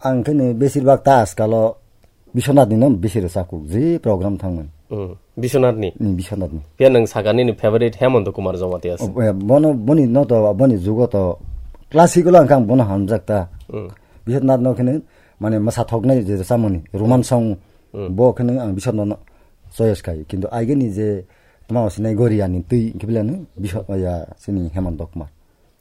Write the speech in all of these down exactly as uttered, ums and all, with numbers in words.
Ang khe ni besir bak ta askalo Biswanath ni no bisi rwchapkuk, je program thangmani. Hmm. Biswanath ni? Ni Biswanath ni. Phiya nwng sakha nini favorite Hemanta Kumar Jamatia se. O, eh, bono, boni no to, boni jugo to classical ang khe ang bono hamjak ta. Hmm. Biswanath no khe ni mane mwsathoknai je rwchapmani, Roman song, Hmm. bo khe ni ang Biswanath no choice khai. Kintu aigeni je tma sinai Goria ni twi khe bela ni Biswa-, ya, sini Hemanta Kumar.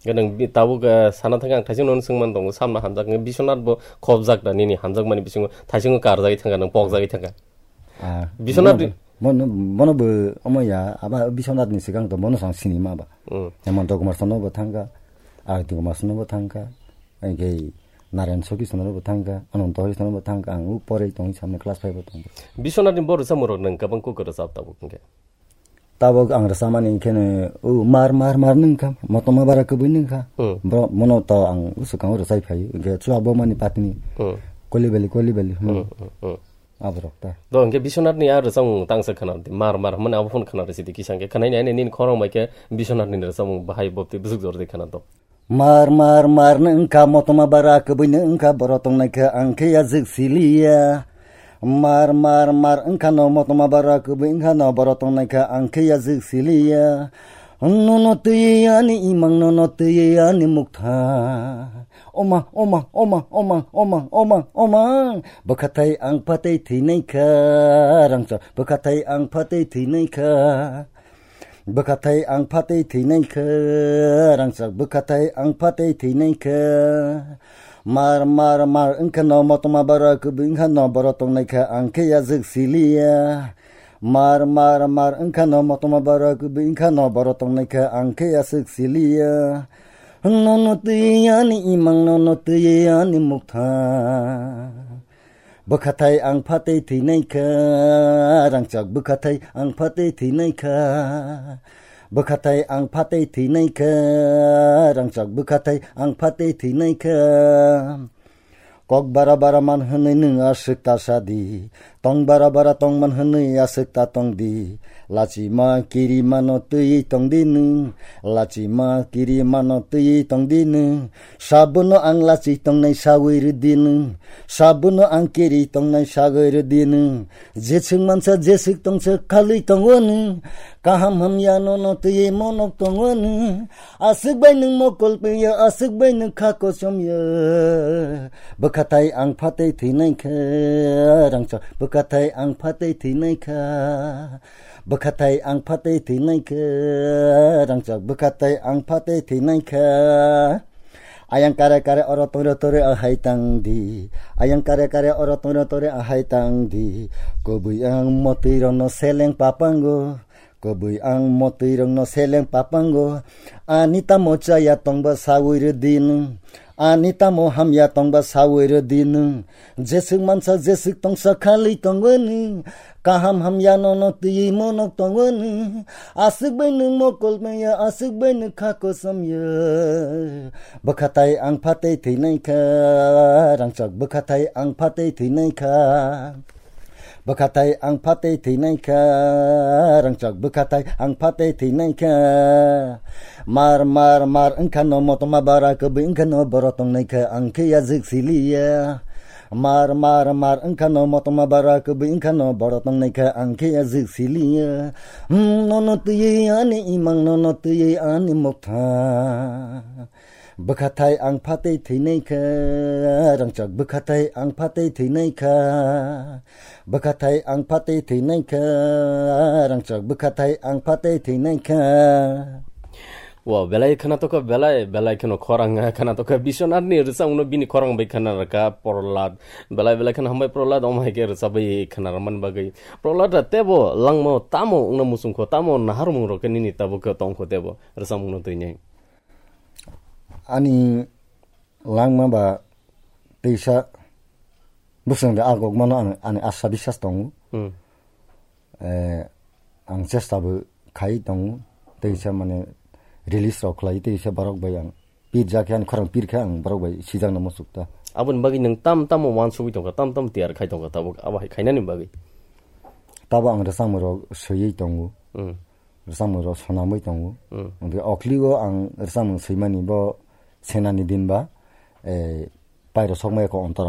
Ganang bi-, tabuk, eh, sana thangkhe ang thaising nono swngman tongo, samna hamjak wngkhe Biswanath bo khopjak da nini hamjakmani bisingo thaisingo karjagwi thangkha, nang pokjagwi thangkha. Ah, Biswanath bono, bono, bono bo omo ya, aba Biswanath ni swkang to bono sang sinima ba. Hmm. Hemanta Kumar Sano bo thangkha, Arati Kumar Sano bo thangkha, engkhe Narayan Sokhi Sano bo thangkha, Ananta Hari Sano bo thangkha, ang u pore tongwi samne class five o tongkha. Biswanath ni bo rwchapmung rok nang kwbang kuk rwchap tabuk hwnkhe. Tabuk ang rwchapmani khe no, o mar, mar, mar nwng kha, motoma bara kwbwi nwng kha. Hmm. Bro, mono to ang swkang rwchai phai, hwnkhe chwla bo mani patini. Hmm. Koli beli, koli beli, hmm. Hmm, hmm, hmm. Aborok ta. Do hwnkhe Biswanath ni a rwchapmung tangsa khana di, mar, mar, hwnmani abo phone khana rwchidi kisa hwnkhe khanaini ani nini khorang bai khe Biswanath ni rwchapmung bahai bopti bwswk jordi khana do. Mar, mar, mar nwng kha, motoma bara kwbwi nwng kha, boro tongnai kha ang khe ya jwk siliya. Mar, mar, mar wngkha no, motoma bara kwbwi wngkha no, boro tongnai kha ang khe ya jwk siliya. Nono twiwi ani imang, nono twiwi ani muktha. Oma, oma, oma, oma, oma, oma, oma. Bwkhathai ang phatwi thwinai kha, rangchak bwkhathai ang phatwi thwinai kha. Bwkhathai ang phatwi thwinai kha, rangchak bwkhathai ang phatwi thwinai kha. Mar, mar, mar wngkha no, motoma bara kwbwi wngkha no, boro tongnai kha ang khe ya jwk siliya. Mar, mar, mar wngkha no, motoma bara kwbwi wngkha no, boro tongnai kha ang khe ya jwk siliya. Nono twiwi ani imang, nono twiwi ani muktha. Bwkhathai ang phatwi thwinai kha, rangchak bwkhathai ang phatwi thwinai kha. Bwkhathai ang phatwi thwinai kha, rangchak bwkhathai ang phatwi thwinai kha. Kok bara bara man hwnwi nwng aswk ta sadi, tong bara bara tong man hwnwi aswk ta tongdi. Lachima kirimano twiwi tongdi nwng, lachima kirimano twiwi tongdi nwng. Sabono ang lachi tongnai sawi rwdi nwng. Sabono ang kiri tongnai sagwi rwdi nwng. Jeswk mansa jeswk tongsa khalwi tongo nwng. Kaham hamya nono twiwi monok tongo nwng. Aswk bai nwng mokol pengya, aswk bai nwng kha kosom ya. Bwkhathai ang phatwi thwinai kha, rangchak bwkhathai ang phatwi thwinai kha. Bwkhathai ang phatwi thwinai kha, rangchak bwkhathai ang phatwi thwinai kha. Ayang kare kare oro tongre tore ahai tang di. Ayang kare kare oro tongre tore ahai tang di. Kobui ang motwi rokno seleng papango. Kobui ang motwi rokno seleng papango. Ani tamo chaya tongba sawi rwdi nwng. Ani tamo hamya tongba sawi rwdi nwng. Jeswk mansa jeswk tongsa khalwi tongo nwng. Kaham hamya nono twiwi monok tongo nwng. Aswk bai nwng mokol maya, aswk bai nwng kha kosom ya. Bwkhathai ang phatwi thwinai kha, rangchak bwkhathai ang phatwi thwinai kha. Bwkhathai ang phatwi thwinai kha, rangchak bwkhathai ang phatwi thwinai kha. Mar, mar, mar wngkha no, motoma bara kwbwi wngkha no, boro tongnai kha ang khe ya jwk siliya. Mar, mar, mar wngkha no, motoma bara kwbwi wngkha no, boro tongnai kha ang khe ya jwk siliya. Hmm, nono twiwi ani imang, nono twiwi ani mokha. Bwkhathai ang phatwi thwinai kha, rangchak bwkhathai ang phatwi thwinai kha. Bwkhathai ang phatwi thwinai kha, rangchak bwkhathai ang phatwi thwinai kha. Wow, belai khana tokha, belai, belai kheno khorang khana tokha. Biswanath ni rwchapmung no bini khorang bai khana rwkha Prohlad. Belai, belai kheno hambai Prohlad, omo hai khe rwchapwi khana rwmani bagwi. Prohlad da tebo langmao tamo wngna muchungkho, tamo naharmung rok khe nini tabuk khe tongkho tebo rwchapmung no twinai. Ani langma ba teisa bwswng de agok mano ang, ani asa biswas tongo. Hmm. Eh, ang chesta bo khai tongo. Teisa mane release rok khlai, teisa borok bai ang pirja khe, ani khorang pir khe ang borok bai sijakna muchuk ta. Aboni bagwi nwng tam tamo wansugwi tongkha, tam tam tiyar khai tongkha tabuk, abo hai khainani bagwi. Tabo ang rwchapmung rok swiwi tongo. Hmm. Rwchapmung rok swnamwi tongo. Hmm. Hwnkhe okhligo ang rwchapmung swimani bo senani din ba, eh, pairo sokmaya kok ontor